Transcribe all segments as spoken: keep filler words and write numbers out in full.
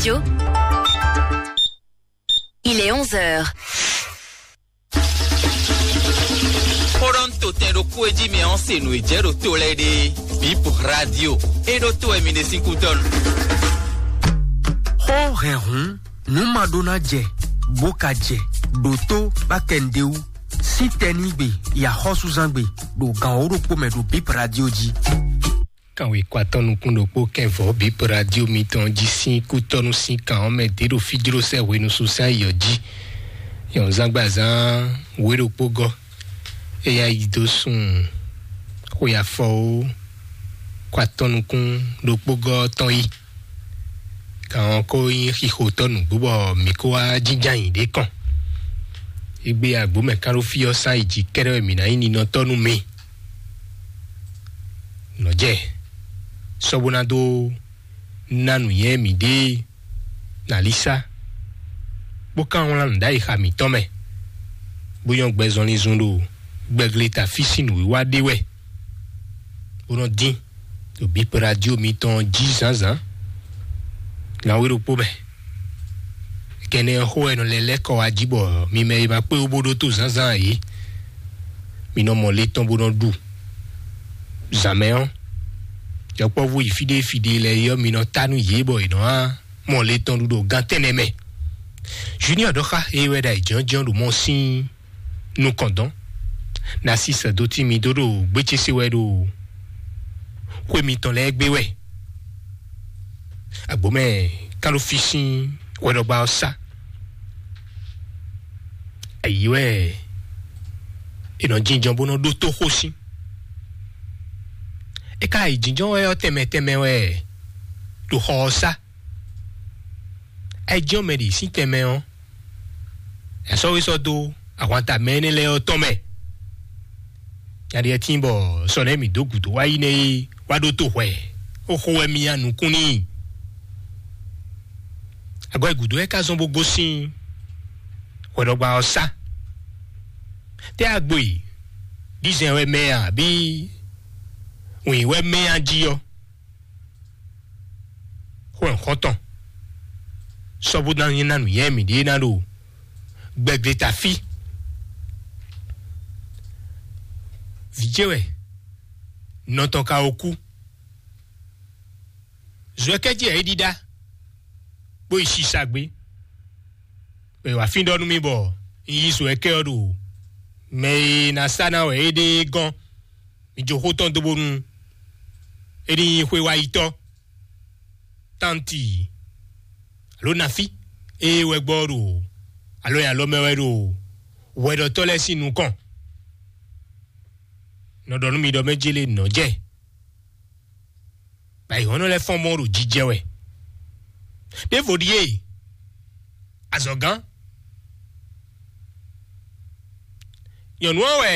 Radio. Il est onze heures. Xó ɖɔ un to tɛn ɖokpó e jí mɛ ɔ́ se nǔ e jɛ ɖo to lɛ́ɛ ɖe. Bip Radio. E ɖo to wɛ mi ɖe sín kútɔ́nu. Xó hɛn hǔn, nǔ ma ɖó ná jɛ, bó ka jɛ, ɖo tó bá kɛ nǔɖé wú. Sín tɛnígbe, yi axɔ́súzángbe, ɖo gan wǒ ɖokpó mɛ ɖo Bip Radio jí. Kanwe kɔ atɔ́ nukún ɖokpó kɛnvɔ́ Bip Radio mitɔn jí sín kútɔ́nú sín kan ɔ́ mɛ ɖě ɖo fí jló sɛ́ hwenu sín ayǐ ɔ́ jí. Nyɔ̌nzágbazán wě ɖokpó gɔ́, éyá yi dó sun xwe afɔwó kɔ atɔ́ nukún ɖokpó gɔ́ tɔn yi. Kan ɔ́ kó nyí xixo tɔ́ nǔgbó bɔ mǐ kó wá jínjɔ́n ayǐ ɖé kɔn. Égbé agbǒ mɛ kán ɖó fí ɔ́ sán yi jǐ kɛ́ɖɛ́ wɛ mǐ ná nyí ninɔtɔ́ nú mi. Nɔ̌ jɛ sɔ́ bó ná dó ná nǔnywɛ́ mǐɖée nalísá, bó ka wlán nǔ ɖ'ayǐ xa mǐtɔn mɛ, bó nyɔ́ gbɛ zɔnlin zun ɖo gbɛgle ta fí sín nǔwiwa ɖé wɛ, bó nɔ́ dín ɖo Bip Radio mitɔn jí zǎnzǎn. Nǎwe ɖokpó mɛ. Kɛnɛ ɔ́ xó wɛ nɔ lɛ́ lɛ́ kɔ wá jí bɔ mi mɛ e ma kpé wú bó ɖótó zǎnzǎn ǎ é. Mi nɔ mɔ le tɔn bó nɔ ɖu. Zǎn mɛ ɔ́, yɔkpɔ́vú yi fí ɖé fí ɖé lɛ́ɛ é ɔ́, mi nɔ tá nú yě bɔ è nɔ wá mɔ le tɔn ɖu ɖo gan tɛ́nnɛ mɛ. Junior ɖɔ xá é wɛ ɖo ayǐjínjɔ́n ɖo mɔ sín nukɔn dɔn. Ná sí sɛ̌dó tín mi dó ɖo gbé ce se wɛ ɖo xwé mitɔn lɛ́ɛ gbé wɛ. Agbǒmɛ kán ɖo fí sín hwɛɖɔgba ɔ́ sá. Ayǐ wɛ è nɔ jínjɔ́n bó nɔ ɖótó xó sín. É ka yi jínjɔ́n wɛ ɔ́ tɛnmɛ tɛnmɛ wɛ ɖo xɔ ɔ́ sá. Ayǐjínjɔ́n mɛ ɖě sín tɛnmɛ ɔ́, è sɔ́ wé sɔ́ dó ahwanta mɛ énɛ́ lɛ́ɛ ɔ́ tɔn mɛ. Nya ɖíe tíin bɔ sɔ nɛ́ mǐ dó gǔdo wá yi nɛ́ é wá ɖótó hwɛ, ó xo wɛ myá nukún n'i. Agɔ̌ e gǔdo wɛ ka zɔ́n bó gosín hwɛɖɔgba ɔ́ sá. Tɛ́ agbo e ɖizɛn wɛ mɛ a, abǐ wǐn wɛ mɛ a jí ɔ́? Xó ɔ́ xɔ́ntɔn, sɔ́ bó ná nyí ná nǔnywɛ́ mǐɖée ná ɖo gbɛgbléta fí. Vǐ ce wɛ, nɔ tɔn ka ko kú. Zɔ̌ ɛ kɛ́ jí wɛ é ɖíɖá, bó yi sisa gbé. Bɔ è wǎ fín ɖɔ nú mì bɔ un yí zɔ̌ ɛ kɛ́ ɔ́ ɖo mɛ e ná sá ná wɛ é ɖe é gɔ́n. Mi jó xó tɔn dó bónú é ní nyí xwé wá yi tɔ́. Tánti alo nafí, ée wɛ gbɔ ɖo alo nyi alɔ mɛ wɛ ɖo hwɛɖɔtɔ́ lɛ́ɛ sín nukɔn. Nɔ ɖɔ nú mi ɖɔ mɛ jélé nɔ jɛ, bɔ ayǐhɔ́nɔ lɛ́ɛ fɔ́n mɔ ɖo jijɛ wɛ. Ɖěvo ɖíe azɔ̌gán. Nyɔ̌nu ɔ́ wɛ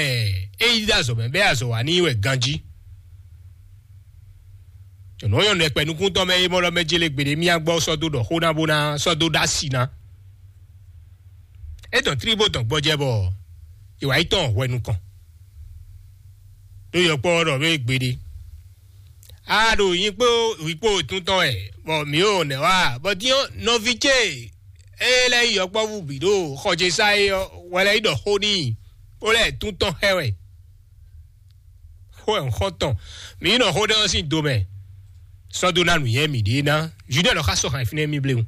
é yi dó azɔ̌ mɛ bɛ́ azɔ̌ wa n'i wɛ ganjí. Nyɔ̌nu ɔ́ nyɔ́ nɛkpɛ nukúntɔ́ mɛ é mɔ lɔ mɛ jélé gbeɖé mía gbɔ sɔ́ dó ɖɔ xó ná bó ná sɔ́ dó ɖó asi ná. É dɔn tlí bó dɔn gbɔjɛ bɔ è wǎ yi tɔn hwɛ nukɔn. Ɖó yɔkpɔ́ ɔ́ ɖɔ mɛ gbeɖé. A ɖo nyi kpó wǐ kpó tún tɔn wɛ, bɔ mǐ ɖo nɛ̌ wa, bɔ dín ɔ́, nɔví ce e lɛ́ nyí yɔkpɔ́vú bǐ ɖo xɔ ce sá é ɔ́, wɛ lɛ́ yi ɖɔ xó n'i, bó lɛ́ tún tɔn xɛ wɛ. Xó wɛ un xɔ tɔn, mǐ yi nɔ xó ɖé ɔ́ sín do mɛ, sɔ́ dó ná nǔnywɛ́ mǐɖée ná. Judɛ́ɛn ɔ́ xá sɔ́ hǎn fínɛ́ mì bléwún.